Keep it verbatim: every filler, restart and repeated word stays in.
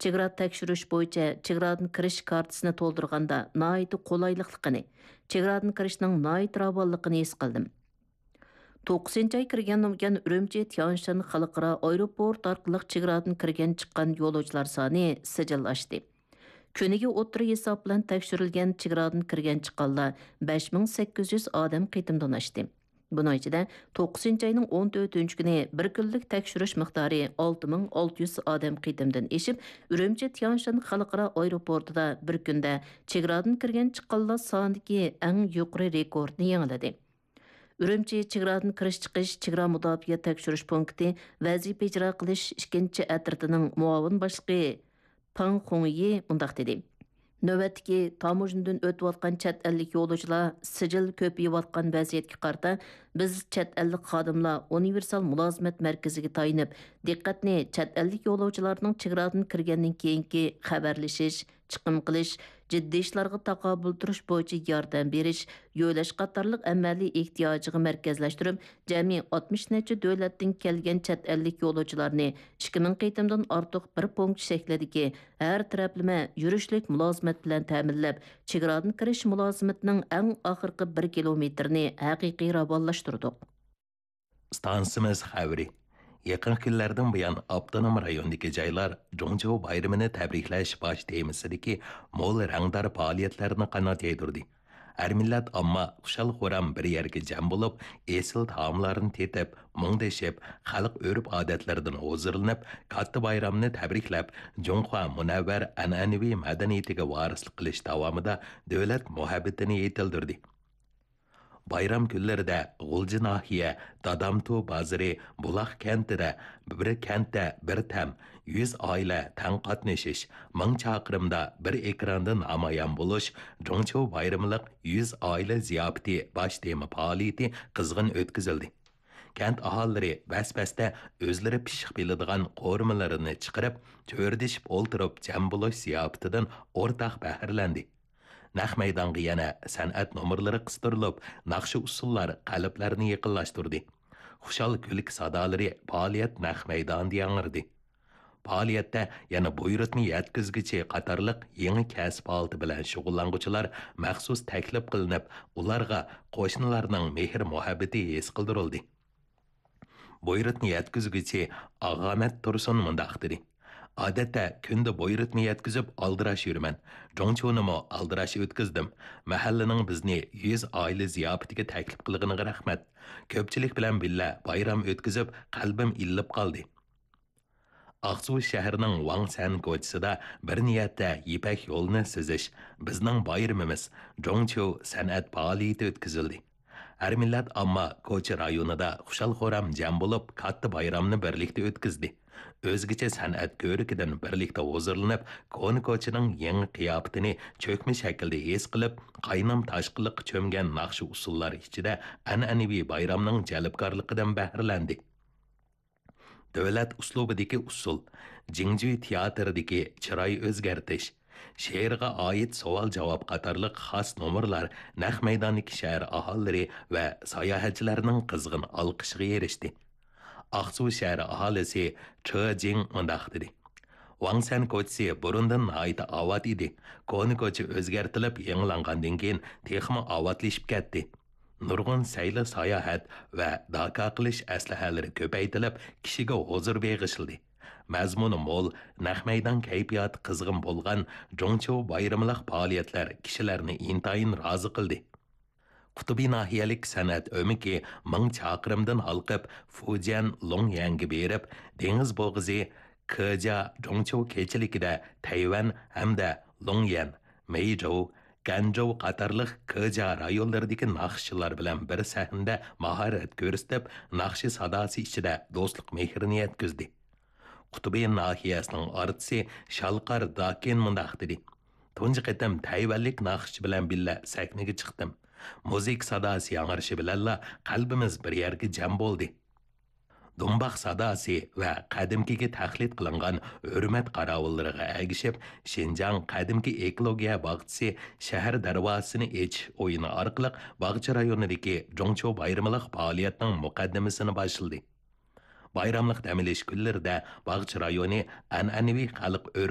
چېگرا تەكشۈرۈش بويىچە چېگرادىن كىرىش كارتىسىنى تولدۇرغاندا ناھايىتى قولايلىقلىقىنى، چېگرادىن كىرىشنىڭ ناھايىتى راۋانلىقىنى ھېس قىلدىم. توققۇزىنچى ئاي كىرگەندىن بۇيان، ئۈرۈمچى تيانشان خەلقئارا ئايروپورت ئارقىلىق چېگرادىن كىرگەن چىققان يولۇچىلار سانى سىجىل ئاشتى. كۈنىگە ئوتتۇرا ھېساب بىلەن تەكشۈرۈلگەن چېگرادىن كىرگەن چىققانلار بەش مىڭ سەككىز يۈز ئادەم قېتىمدىن ئاشتى. بۇنىڭ ئىچىدە، توققۇزىنچى ئاينىڭ ئون تۆتىنچى كۈنى بىر كۈنلۈك تەكشۈرۈش مىقدارى ئالتە مىڭ ئالتە يۈز ئادەم قېتىمدىن ئېشىپ، ئۈرۈمچى تيانشان خەلقئارا ئايروپورتىدا بىر كۈندە چېگرادىن كىرگەن چىققانلار سانىدىكى ئەڭ يۇقىرى رېكورتنى يېڭىلىدى. ئۈرۈمچى چېگرادىن كىرىش چىقىش چېگرا مۇداپىئە تەكشۈرۈش پونكىتى ۋەزىپە ئىجرا قىلىش ئىككىنچى ئەترىتىنىڭ مۇئاۋىن باشلىقى پاڭ خۇڭيى مۇنداق دېدى: نۆۋەتتىكى تاموژنىدىن ئۆتۈۋاتقان چەت ئەللىك يولۇچىلار سىجىل كۆپىيىۋاتقان ۋەزىيەتكە قارىتا، بىز چەت ئەللىك خادىملار ئۇنىۋېرسال مۇلازىمەت مەركىزىگە تايىنىپ، دىققەتنى چەت ئەللىك يولۇچىلارنىڭ چېگرادىن كىرگەندىن كېيىنكى خەۋەرلىشىش، چىقىم قىلىش، جىددىي ئىشلارغا تاقابىل تۇرۇش بويىچە ياردەم بېرىش، يۆلەش قاتارلىق ئەمەلىي ئېھتىياجىغا مەركەزلەشتۈرۈپ، جەمئىي ئاتمىش نەچچە دۆلەتتىن كەلگەن چەت ئەللىك يولۇچىلارنى ئىككى مىڭ قېتىمدىن ئارتۇق بىر پونكىت شەكلىدىكى ھەر تەرەپلىمە يۈرۈشلۈك مۇلازىمەت بىلەن تەمىنلەپ، چېگرادىن كىرىش مۇلازىمىتىنىڭ ئەڭ ئاخىرقى بىر كىلومېتىرىنى ھەقىقىي راۋانلاشتۇردۇق. ئىستانسىمىز خەۋىرى. يېقىنقى كۈنلەردىن بۇيان ئاپتونوم رايوندىكى جايلار جۇڭچيۇ بايرىمىنى تەبرىكلەش باش تېمىسىدىكى مول رەڭدار پائالىيەتلەرنى قانات يايدۇردى. ھەر مىللەت ئامما خۇشال-خۇرام بىر يەرگە جەم بولۇپ، ئېسىل تائاملارنى تېتىپ، مۇڭدىشىپ، خەلق ئۆرپ-ئادەتلىرىدىن ھۇزۇرلىنىپ، كاتتا بايرامنى تەبرىكلەپ، جۇڭخۇا مۇنەۋۋەر ئەنئەنىۋى مەدەنىيىتىگە ۋارىسلىق قىلىش داۋامىدا دۆلەت مۇھەببىتىنى يېتىلدۈردى. بايرام كۈنلىرىدە غۇلجا ناھىيە دادامتۇ بازىرى بۇلاق كەنتىدە بىر كەنتتە بىر تەم، يۈز ئائىلە تەڭ قاتنىشىش، مىڭ چاقىرىمدا بىر ئېكراندا نامايان بولۇش، جۇڭچيۇ بايرىملىق يۈز ئائىلە زىياپىتى باش تېما پائالىيىتى قىزغىن ئۆتكۈزۈلدى. كەنت ئاھالىلىرى بەس-بەستە ئۆزلىرى پىششىق بىلىدىغان قورۇمىلىرىنى چىقىرىپ، چۆرىدىشىپ ئولتۇرۇپ جەم بولۇش زىياپىتىدىن ئورتاق بەھرىلەندى. نەق مەيدانغا يەنە سەنئەت نومۇرلىرى قىستۇرۇلۇپ، ناخشا-ئۇسسۇللار قەلبلەرنى يېقىنلاشتۇردى. خۇشال كۈلكە سادالىرى پائالىيەت نەق مەيدانىدا ياڭرىدى. پائالىيەتتە يەنە بۇيرۇتما يەتكۈزگۈچى قاتارلىق يېڭى كەسىپ ھالىتى بىلەن شۇغۇللانغۇچىلار مەخسۇس تەكلىپ قىلىنىپ، ئۇلارغا قوشنىلارنىڭ مېھىر-مۇھەببىتى ھېس قىلدۇرۇلدى. بۇيرۇتما يەتكۈزگۈچى ئاغامەت تۇرسۇن مۇنداق دېدى: ئادەتتە كۈندە بۇيرۇتما يەتكۈزۈپ ئالدىراش يۈرىمەن. جۇڭچيۇنىمۇ ئالدىراش ئۆتكۈزدۈم. مەھەللىنىڭ بىزنى يۈز ئائىلە زىياپىتىگە تەكلىپ قىلغىنىغا رەھمەت. كۆپچىلىك بىلەن بىللە بايرام ئۆتكۈزۈپ، قەلبىم ئىللىپ قالدى. ئاقسۇ شەھىرىنىڭ ۋاڭسەن كوچىسىدا بىر نىيەتتە يىپەك يولىنى سىزىش، بىزنىڭ بايرىمىمىز، جۇڭچيۇ سەنئەت پائالىيىتى ئۆتكۈزۈلدى. ھەر مىللەت ئامما كوچا رايونىدا خۇشال-خۇرام جەم بولۇپ، كاتتا بايرامنى بىرلىكتە ئۆتكۈزدى. ئۆزگىچە سەنئەت كۆرىكىدىن بىرلىكتە ھۇزۇرلىنىپ، كونا كوچىنىڭ يېڭى قىياپىتىنى چۆكمە شەكىلدە ھېس قىلىپ، قاينام-تاشقىنلىققا چۆمگەن ناخشا-ئۇسسۇللار ئىچىدە ئەنئەنىۋى بايرامنىڭ جەلپكارلىقىدىن بەھرىلەندى. دۆلەت ئۇسلۇبىدىكى ئۇسسۇل، جىڭجۈي تىياتىرىدىكى چىراي ئۆزگەرتىش، شېئىرغا ئائىت سوئال-جاۋاب قاتارلىق خاس نومۇرلار نەق مەيداندىكى شەھەر ئاھالىلىرى ۋە ساياھەتچىلەرنىڭ قىزغىن ئالقىشىغا ئېرىشتى. ئاقسۇ شەھەر ئاھالىسى چې جىڭ مۇنداق دېدى: ۋاڭسەن كوچىسى بۇرۇندىن ناھايىتى ئاۋات ئىدى. كونا كوچا ئۆزگەرتىلىپ يېڭىلانغاندىن كېيىن تېخىمۇ ئاۋاتلىشىپ كەتتى. نۇرغۇن سەيلە ساياھەت ۋە داكا قىلىش ئەسلىھەلىرى كۆپەيتىلىپ، كىشىگە ھۇزۇر بېغىشلىدى. مەزمۇنى مول، نەق مەيدان كەيپىياتى قىزغىن بولغان جۇڭچيۇ بايرىملىق پائالىيەتلەر كىشىلەرنى ئىنتايىن رازى قىلدى. قۇتۇبى ناھىيەلىك سەنئەت ئۆمىكى مىڭ چاقىرىمدىن ھالقىپ، فۇجيەن لۇڭيەنگە بېرىپ، دېڭىز بوغۇزى، كېجيا جۇڭچيۇ كېچىلىكىدە تەيۋەن ھەمدە لۇڭيەن، مېيجوۋ، گەنجوۋ قاتارلىق كېجيا رايونلىرىدىكى ناخشىچىلار بىلەن بىر سەھنىدە ماھارەت كۆرسىتىپ، ناخشا ساداسى ئىچىدە دوستلۇق مېھرىنى يەتكۈزدى. قۇتۇبى ناھىيەسىنىڭ ئارتىسى شالقار داكىن مۇنداق دېدى: تۇنجى قېتىم تەيۋەنلىك ناخشىچى بىلەن بىللە سەھنىگە چىقتىم. مۇزىكا ساداسى ياڭرىشى بىلەنلا قەلبىمىز بىر يەرگە جەم بولدى. دۇمباق ساداسى ۋە قەدىمكىگە تەقلىد قىلىنغان ھۆرمەت قاراۋۇللىرىغا ئەگىشىپ، شىنجاڭ قەدىمكى ئېكولوگىيە باغچىسى شەھەر دەرۋازىسىنى ئېچىش ئويۇنى ئارقىلىق باغچە رايونىدىكى جۇڭچيۇ بايرىملىق پائالىيەتنىڭ مۇقەددىمىسىنى باشلىدى. بايراملىق دەم ئېلىش كۈنلىرىدە باغچە رايونى ئەنئەنىۋى خەلق